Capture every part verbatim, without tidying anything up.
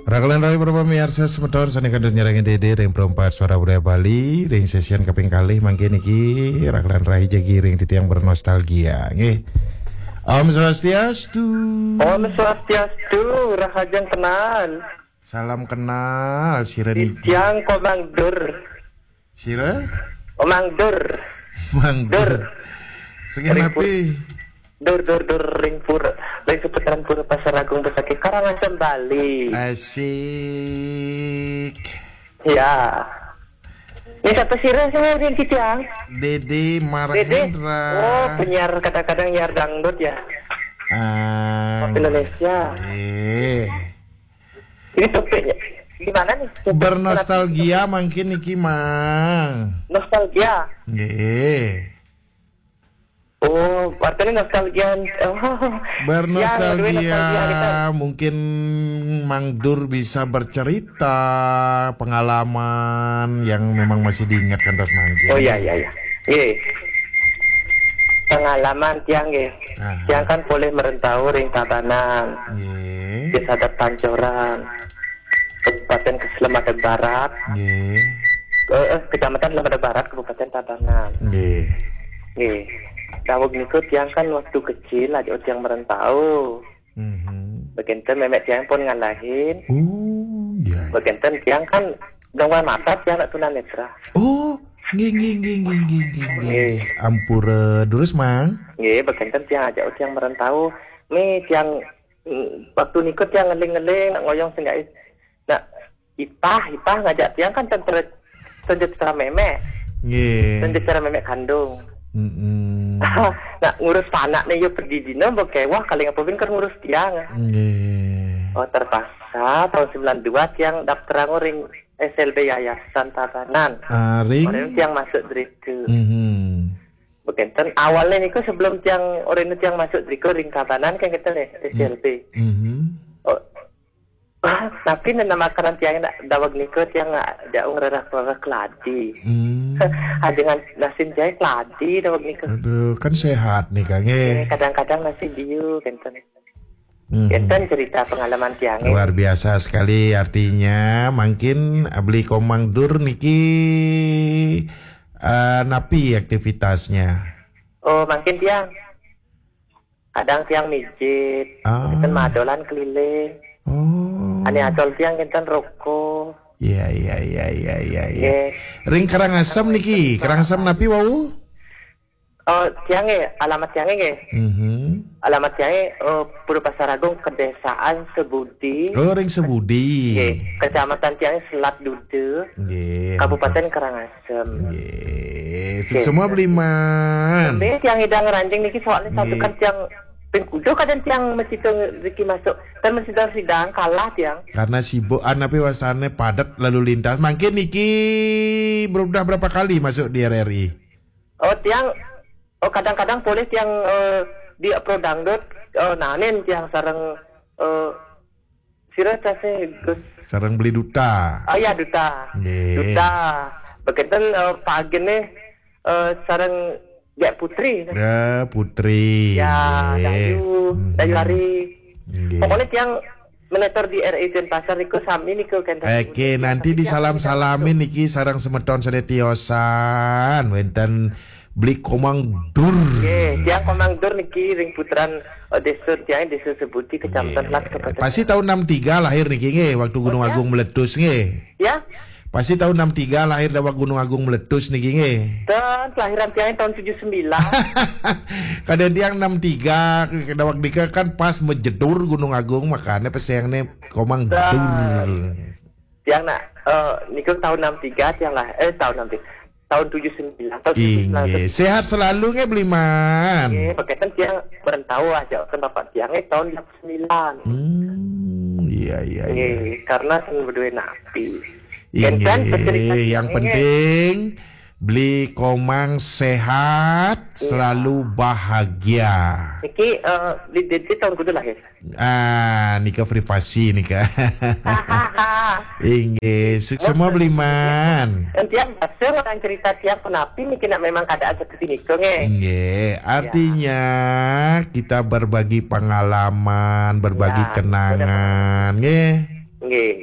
Raglan rai para pamiarsa semeton sane kantun nyarengin Dede ring Perempat Suara Budaya Bali, ring sesian kaping kalih mangkin niki Raglan rai jagi ring titiang bernostalgia, nggih. Om Swastiastu. Om Swastiastu, rahajeng kenal. Salam kenal, sira niki. Titiang Komang Dur. Sira? Komang Dur. Mang Dur. Dur. Saking napi? Dur, dur, dur, ring pur, ring seputaran Pura Pasar Agung Besakih Karangasem, Bali. Asik. Ya. Ini siapa sira sih ring titiang? Dede Dede. Marhendra. Oh, penyiar kadang-kadang nyiar dangdut ya. Ah, Indonesia. Eh. Ini topiknya gimana nih? Bernostalgia mangkin niki, Mang. Nostalgia. Nggih. Oh, artinya nostalgia. Oh. Bernostalgia, ya, nostalgia kita. Mungkin Mang Dur bisa bercerita pengalaman yang memang masih diingat kantos mangkin. Oh, iya, iya, iya. Nggih. Pengalaman tiang nggih. Aha. Tiang kan polih merantau ring Tabanan. Nggih. Desa Adat Pancoran. Kabupaten Keselamatan Barat. Nggih. Eh, eh, Kecamatan Selamatan Barat, Kabupaten Tabanan. Nggih. Nggih. Daweg niku tiang kan waktu kecil aja tiang merantau. Mhm. Bekenten memek tiang pun ngalahin. Oh, iya. Bekenten tiang kan gangguan mata tiang nak tunanetra. Oh, nggih, nggih, nggih. Nggih. Ampura, durus, Mang. Nggih, bekenten tiang aja tiang merantau. Mi tiang, mm, waktu niku tiang ngeling-ngeling nak ngoyong senggak. Nak ipah, ipah ngajak tiang kan ten ter-, ten jejera memek. Nggih. Ten jejera memek kandung. Mm-mm. Nak ngurus panak nih yo pedidina bekewah kali ngapa bin kan ngurus tiang. Nggih. Oh, terpaksa tahun sembilan dua tiang daftar ring S L B Yayasan Tabanan. Ah, ring? Orang tiang masuk drika. Mhm. Bekenten awalnya niku sebelum tiang orang tiang masuk drika ring Tabanan kan kita nih S L B. Mhm. Oh, tapi nena makanan tiang nak daweg niku tiang nak jauh ngererah keladi. Hmm. Ajengan nasi jahe keladi daweg niku. Aduh, kan sehat nih, Kang, eh. Eh, kadang-kadang nasi diu, kenten. Hmm. Kenten cerita pengalaman tiang, eh. Luar biasa sekali, artinya mungkin beli Komang Dur niki, eh, napi aktivitasnya? Oh, mungkin tiang. Kadang tiang mijit, ah, kenten madolan keliling. Oh. Ane adol tiang kenten roko. Iya, iya, iya, iya, iya, iya. Nggih. Ring Karangasem niki, Karangasem napi wau? Oh, tiang nggih, alamat tiang nggih. Mhm. Alamat tiang nggih, eh, Pura Pasar Agung, Kedesaan Sebudi. Oh, ring Sebudi. Nggih, Kecamatan tiang Selat Dude. Nggih. Kabupaten Karangasem. Nggih. Nggih. Semua beliman. Tapi tiang idang ranjing niki soalnya satu kan tiang pengkudo kadang tiang mesti riki masuk. Kan mesti sidang kalah tiang. Karena sibuk, ah, napi wastane padat lalu lintas. Mungkin niki berudah berapa kali masuk di R R I? Oh, tiang, oh, kadang-kadang boleh tiang, eh, di Pro Dangdut, eh, nanin tiang sareng, eh, sira case Gus. Sareng beli duta. Oh ya, duta. Nggih. Duta. Bekenten, eh, pagi nih, eh, sareng Gek Putri. Ya, Putri. Ya, nggih. Dayu, mhm. Dayu Ari. Nggih. Pokoknya tiang menetor di R I Denpasar niku sami niku kenten. Oke, nanti disalam-salamin niki sareng semeton sane tiosan wenten beli Komang Dur. Nggih, tiang Komang Dur niki ring putaran, eh, desa tiang, Desa Sebudi, Kecamatan Nggih. Lat, Kabupaten. Pasti tahun enam tiga lahir niki nggih, waktu Gunung Agung meletus nggih. Ya? Pasti tahun enam tiga lahir daweg Gunung Agung meletus niki nggih. Dan kelahiran tiang tahun tujuh sembilan. Kadang tiang enam tiga, daweg nika kan pas mejedur Gunung Agung, makanya pesengne Komang Dur. Tiang nak, eh, niku tahun enam tiga tiang lah, eh, tahun enam tiga. Tahun tujuh sembilan, tahun tujuh sembilan. Inggih. Sehat selalu nggih, Beliman. Nggih, bekenten tiang merantau aja kan bapak tiang, eh, tahun sembilan. Hmm, iya, iya, iya. Nggih, karena kan berdua napi. Inggih, kenten pecerita yang tiang, penting Beli Komang sehat, selalu bahagia. Niki, eh, di, di, di tahun kudu lahir. Ah, nika privasi nika. Inggih, suksma Beli Man. Entian bahasa orang cerita tiang punapi niki nak memang kada aja ke sini ke, nggih. Inggih, artinya kita berbagi pengalaman, berbagi kenangan, nggih. Nggih.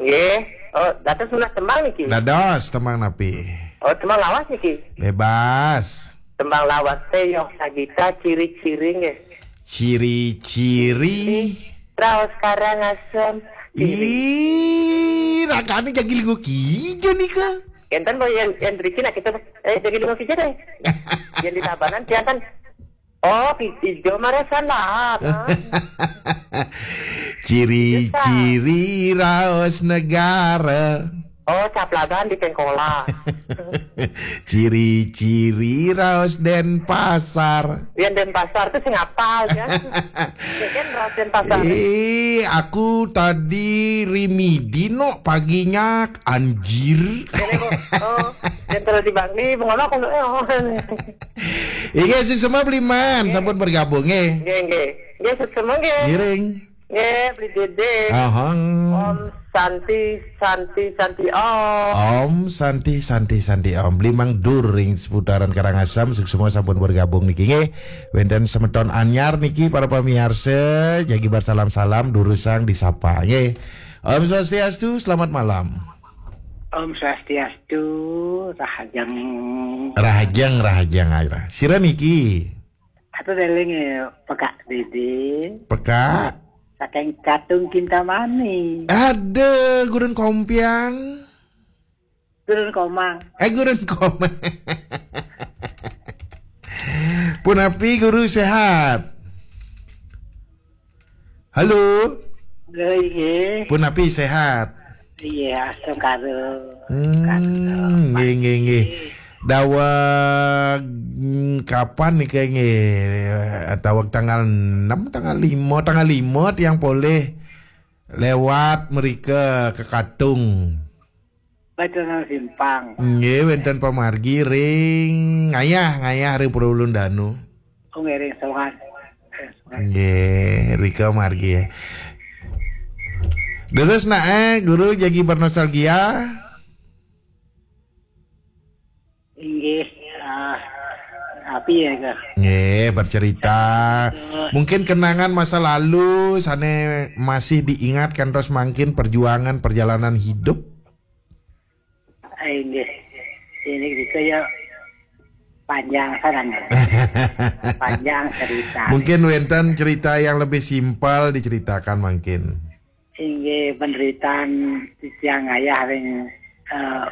Nggih. Oh, dados menawi tembang niki. Dados tembang napi? Oh, tembang lawas niki. Bebas. Tembang lawas teh Yoh Sagita, ciri-ciri nggih. Ciri-ciri. Raos Karangasem. Ih, ragane jagi linggo kijo nika. Enten bo yang yang driki nak kita, eh, jagi linggo kijo deh. Yang di Tabanan tiang kan. Oh, pi-, ijo marasa lah, kan? Ciri-ciri raos negara. Oh, Caplagan di Pengkolan. Ciri-ciri raos Denpasar. Yang Denpasar tuh sing apal ya. Ya kan, raos Denpasar. Eh, aku tadi rimidi no paginya, anjir. Ini, Bu. Oh, yang terus di Bangli, bengolok, eh, oh. Inggih, suksma Beli Man, sampun bergabung, nggih. Nggih, nggih. Nggih, suksma, nggih. Ngiring. Nggih, Beli Dede. Ahang. Om Santi, Santi, Santi, Om. Om Santi, Santi, Santi, Om. Beli Mang Dur ring seputaran Karangasem, suksma sampun bergabung niki, nggih. Wenten semeton anyar niki, para pamiarsa, jagi bersalam-salam, durusang disapa, nggih. Om Swastiastu, selamat malam. Om Swastiastu, Rahajeng. Rahajeng, Rahajeng, ayo. Sira niki? Atuh deling ya, Pekak Dede. Pekak. Saking Katung Kintamani. Ada gurun Kompiang. Gurun Komang. Eh, gurun Komang. Punapi guru sehat? Halo. Halo, inggih. Punapi sehat? Iya, astungkara. Hmm, nggih, nggih, nggih. Daweg, mm, kapan nih kayaknya? Daweg tanggal enam, tanggal lima, tanggal lima tiang polih lewat mereka ke Katung. Baca nang simpang. Nggih, wenten pamargi ring ngayah, ngayah ring Pura Ulun Danu. Oh, nggih, ring Sowan. Ring Sowan. Nggih, rika margi ya. Terus nak, eh, guru jagi bernostalgia? Inggih, ah, api ya, Kak? Nggih, bercerita. Mungkin kenangan masa lalu sane masih diingat kantos mangkin perjuangan perjalanan hidup. Inggih. Ini kita ya panjang saran ya. Panjang cerita. Mungkin wenten cerita yang lebih simpel diceritakan mungkin. Inggih, penderitaan titiang ayah ring, eh,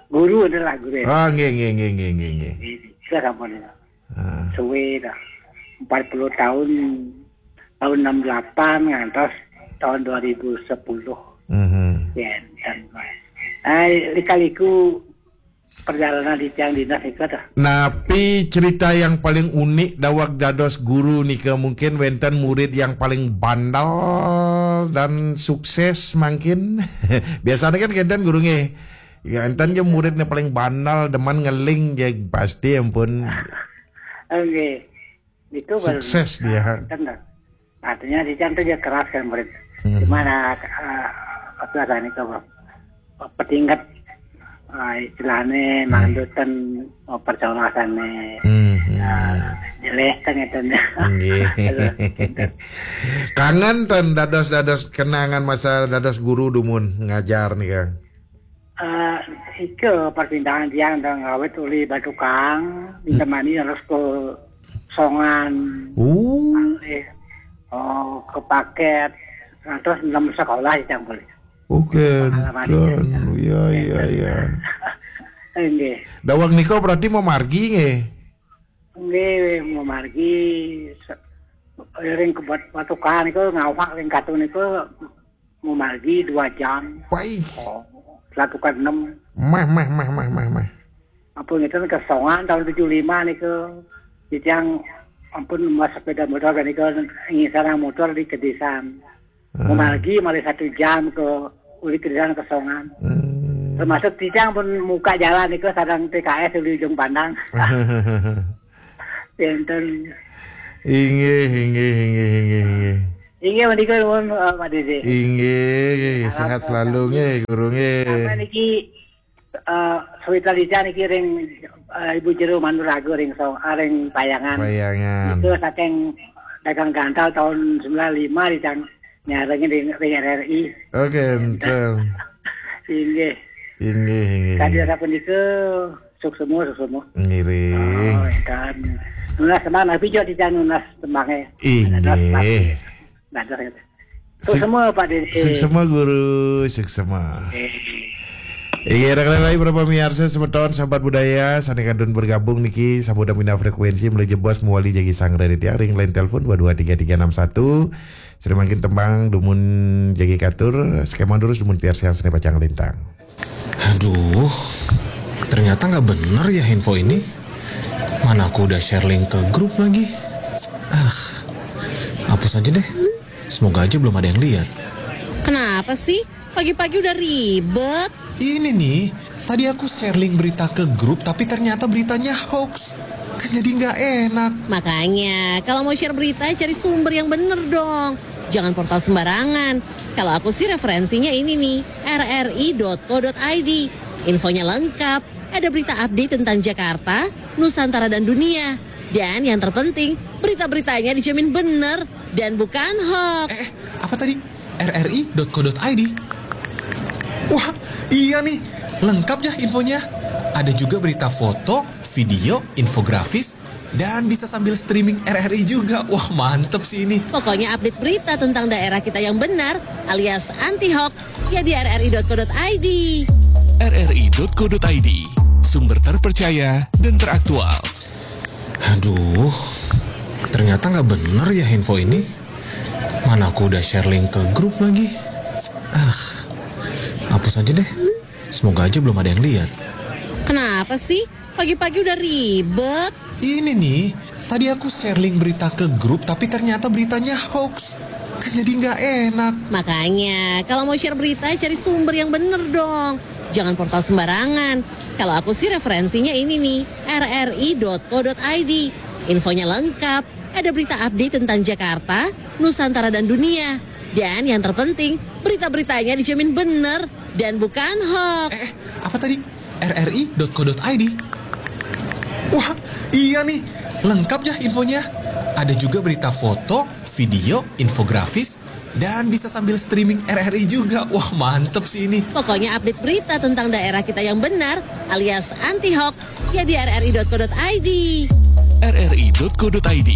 guru adalah guru. Ah, nggih, nggih, nggih, nggih, nggih, nggih. Nggih, itu sampun. Ah. Suwe dah. Empat puluh tahun, tahun enam delapan ngantos tahun dua ribu sepuluh. Mhm. Ya, dan, eh, lika-liku perjalanan di tiang dinas nika dah. Napi cerita yang paling unik daweg dados guru nika, mungkin wenten murid yang paling bandel dan sukses mangkin? Biasanya kan enten guru nggih. Ya, enten ge muridnya paling bandel, demen ngeling ge pasti ampun. Nggih. Itu baru sukses dia. Enten dah. Artinya di tiang tuh dia keras kan murid. Hmm. Cuman, ah, ah, apa rasanya itu, Bang? Petingkat, ah, istilahnya, hmm, mandutan, oh, percolasannya. Hmm, hmm. Ah, jelek kan itu. Nggih. Kangen ten dados-dados kenangan masa dados guru dumun ngajar nih, Kang. Eh, ike perpindahan tiang dah ngawit uli Batukang, hmm, ditemani harus ke Songan. Oh. Malih, oh, ke Paket. Nah, terus enam sekolah yang boleh. Oke, pengalaman kan. Iya, iya, iya. Nggih. Daweg nika berarti mamargi nggih? Nggih, mamargi se-, ring ke Bat-, Batukang niku ngawak ring Katung niku mamargi dua jam. Wah. Oh, Latukan enam. Mah, mah, mah, mah, mah, mah. Ampun, ngeten ke Songan tahun tujuh lima niku. Titiang ampun mas sepeda motor niku ngisarang motor di Kedisan. Hmm. Mamargi malih satu jam ke uli Kedisan ke Songan. Hmm. Termasuk Ticang pun muka jalan itu sareng P K S di ujung pandang. Enten. Inggih, inggih, inggih, inggih, inggih. Inggih menika nuwun, eh, Pak Dede. Inggih, sehat selalu nggih, Guru nggih. Sampai niki, eh, Sawitra Licang niki ring, eh, Ibu Jero Manuraga ring so, ah, ring Payangan. Payangan. Itu saking dagang gantal tahun sembilan lima Licang nyarengin ring, ring R R I. Oke, enten. Inggih. Inggih, inggih. Tadi apa nika suksema, suksema. Ngiring. Oh, kan. Nunas teman, tapi juga tidak nunas temange. Inggih. Dadah gitu. Suksema Pak Dede. Suksema Guru, suksema. Inggih, rekan-rekan para pemirsa semeton sahabat budaya, sane kantun bergabung niki sampun pindah frekuensi menuju bos mewali jagi sanggra di tiang ring line telepon dua dua tiga tiga enam satu. Sri mangkin tembang dumun jagi katur, skema durus dumun piarsiang seni pacang lintang. Aduh, ternyata nggak bener ya info ini. Mana aku udah share link ke grup lagi. Ah, hapus aja deh. Semoga aja belum ada yang lihat. Kenapa sih? Pagi-pagi udah ribet. Ini nih, tadi aku share link berita ke grup tapi ternyata beritanya hoax. Kan jadi nggak enak. Makanya, kalau mau share berita, cari sumber yang bener dong. Jangan portal sembarangan. Kalau aku sih referensinya ini nih, rri.co.id. Infonya lengkap, ada berita update tentang Jakarta, Nusantara dan dunia. Dan yang terpenting, berita-beritanya dijamin bener dan bukan hoax. Eh, apa tadi? rri.co.id. Wah, iya nih, lengkap ya infonya. Ada juga berita foto, video, infografis, dan bisa sambil streaming R R I juga. Wah, mantep sih ini. Pokoknya update berita tentang daerah kita yang benar alias anti hoax ya di rri.co.id. rri.co.id, sumber terpercaya dan teraktual. Aduh, ternyata nggak bener ya info ini. Mana aku udah share link ke grup lagi. Ah, hapus aja deh. Semoga aja belum ada yang lihat. Kenapa sih? Pagi-pagi udah ribet. Ini nih, tadi aku share link berita ke grup tapi ternyata beritanya hoax. Kan jadi nggak enak. Makanya, kalau mau share berita, cari sumber yang bener dong. Jangan portal sembarangan. Kalau aku sih referensinya ini nih, rri.co.id. Infonya lengkap, ada berita update tentang Jakarta, Nusantara dan dunia. Dan yang terpenting, berita-beritanya dijamin bener dan bukan hoax. Eh, apa tadi? rri.co.id. Wah, iya nih, lengkap ya infonya. Ada juga berita foto, video, infografis, dan bisa sambil streaming R R I juga. Wah, mantep sih ini. Pokoknya update berita tentang daerah kita yang benar alias anti hoax ya di rri.co.id. rri.co.id,